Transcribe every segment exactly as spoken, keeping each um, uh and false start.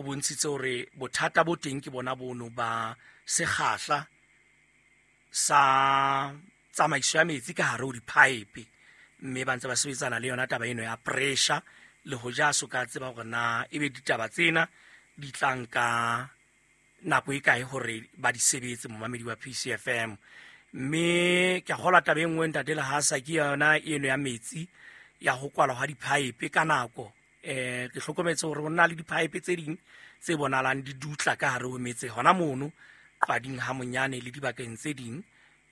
bontshitse hore bothata bo teng ke bona bono ba sekgahla sa tsamaiso ya metsi ka hare ho di-pipe, mme ba ntse ba sebetsana le yona taba eno ya pressure le ho ja so ka tseba hore na ebe ditaba tsena di tlang ka nako e kae hore ba di sebetse momamedi wa P C F M. Mme ke a kgolwa taba e nngwe ntate Lehasa ke yona eno ya metsi ya ho kwalwa ha di-pipe ka nako. Eh ke hlokometse hore ho na le di-pipe tse ding tse bonahalang di dutla ka hare ho metse hona mono Qading ha monyane le dibakeng tse ding,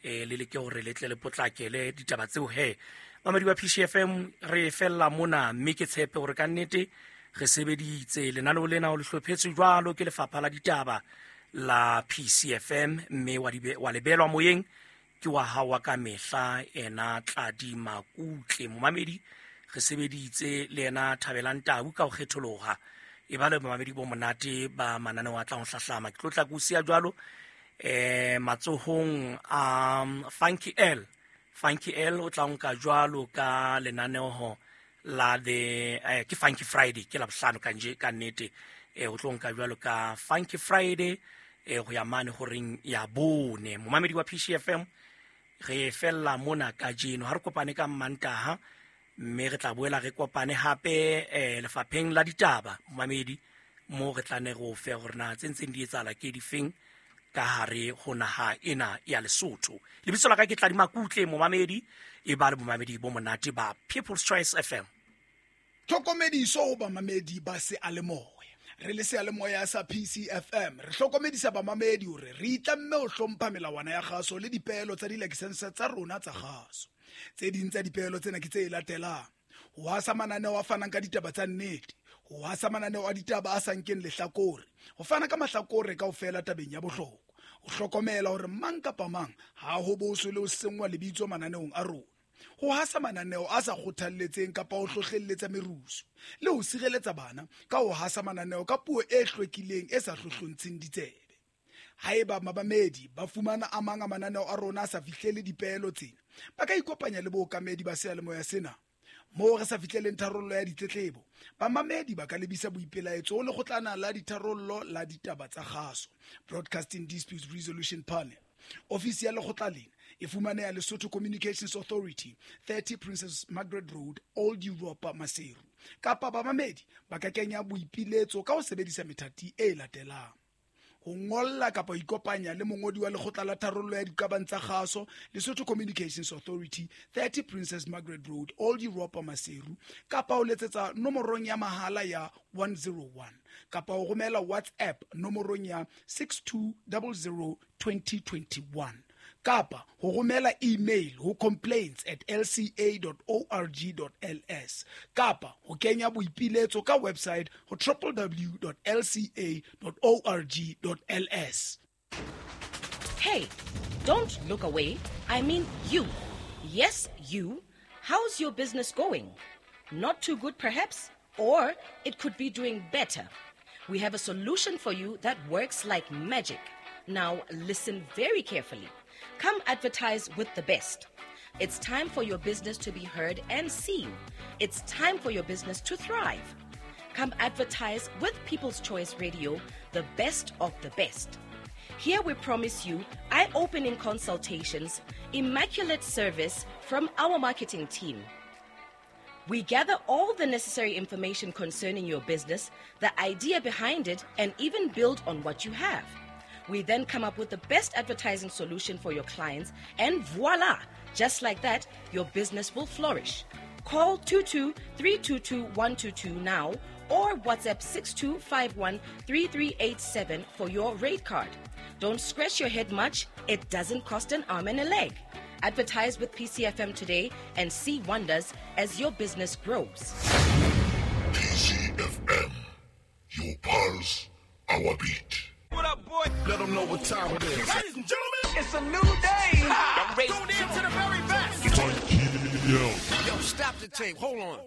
eh le leke hore le tle le potlakele ditaba tseo he. Mamedi wa P C F M re fella mona, mme ke tshepe hore ka nnete re sebeditse lenaneo lena o le hlophetswe jwalo ke lefapha la ditaba la P C F M, mme wa dibe wa lebelwa moyeng ke wa hao wa ka mehla ena Tladi Makutle. Momamedi re sebeditse le ena Thabelang Tau ka ho kgetholoha e ba le momamedi bo monate ba mananeo a tlang ho hlahlama. Ke tlo tla ko siya jwalo eh matsohong a Funky L. Funky L o tla nka jwalo ka lenaneo la the eh, ke Funky Friday ke la bohlano ka nje ka nnete eh o tlo nka jwalo ka Funky Friday eh go ya mane horeng ya bone. Momamedi wa P C F M re fella mona kajeno, ha re kopane ka Mantaha mme re tla boela re kopane hape eh lefapheng la ditaba momamedi mo re tla ne re o fe hore na tse ntseng di etsahala ke difeng ka hare ho naha ena ya Lesotho. Lebitso la ka ke Tladi Makutle momamedi, e ba le momamedi bo monate ba People's Choice F M. Tlhokomediso ho bamamedi ba seyalemoya. Re le seyalemoya sa P C F M re hlokomedisa bamamedi hore re itlamme ho hlompha melawana ya kgaso le dipeelo tsa dilakesense tsa rona tsa kgaso. Tse ding tsa dipeelo tsena ke tse latelang: ho hasa mananeo a fanang ka ditaba tsa nnete, ho hasa mananeo a ditaba a sa nkeng lehlakore, ho fana ka mahlakore kaofela tabeng ya bohlokwa, ho hlokomela hore mang kapa mang ha ho boswe le ho senngwa lebitso mananeong a rona, ho hasa mananeo a sa kgothalletseng kapa ho hlohlelletsa merusu, le ho sireletsa bana ka ho hasa mananeo ka puo e hlwekileng e sa hlohlontsheng ditsebe. Haeba mabamedi ba fumana a mang a mananeo a rona a sa fihlele dipeelo tsena, ba ka ikopanya le bookamedi ba seyalemoya sena. Moo re sa fihleleng tharollo ya ditletlebo, bamamedi ba ka lebisa boipelaetso ho lekgotlana la ditharollo la ditaba tsa kgaso, Broadcasting Disputes Resolution Panel. Ofisi ya lekgotla lena e fumaneha Lesotho Communications Authority, thirty Princess Margaret Road, Old Europa, Maseru. Kapa bamamedi ba ka kenya boipiletso ka ho sebedisa methati e latelang: ho ngolla kapa ho ikopanya le mongodi wa lekgotla la tharollo ya diqabang tsa kgaso, Lesotho Communications Authority, thirty Princess Margaret Road, Old Europa, Maseru, kapa ho letsetsa nomorong ya mahala ya one zero one, kapa ho romela WhatsApp nomorong ya six two zero zero twenty twenty-one, kapa ho romela email ho complaints at l c a dot org dot l s, kapa ho kenya boipiletso ka website ho w w w dot l c a dot org dot l s. Hey, don't look away. I mean you. Yes, you. How's your business going? Not too good perhaps, or it could be doing better. We have a solution for you that works like magic. Now listen very carefully. Come advertise with the best. It's time for your business to be heard and seen. It's time for your business to thrive. Come advertise with People's Choice Radio, the best of the best. Here we promise you eye-opening consultations, immaculate service from our marketing team. We gather all the necessary information concerning your business, the idea behind it, and even build on what you have. We then come up with the best advertising solution for your clients, and voila! Just like that, your business will flourish. Call two two three two two one two two now or WhatsApp six two five one three three eight seven for your rate card. Don't scratch your head much. It doesn't cost an arm and a leg. Advertise with P C F M today and see wonders as your business grows. P C F M, your pulse, our beat. What up, boy? Let them know what time it is. Ladies and gentlemen, it's a new day. Ha! Tune in to the very best. Yo. Yo, stop the tape. Hold on.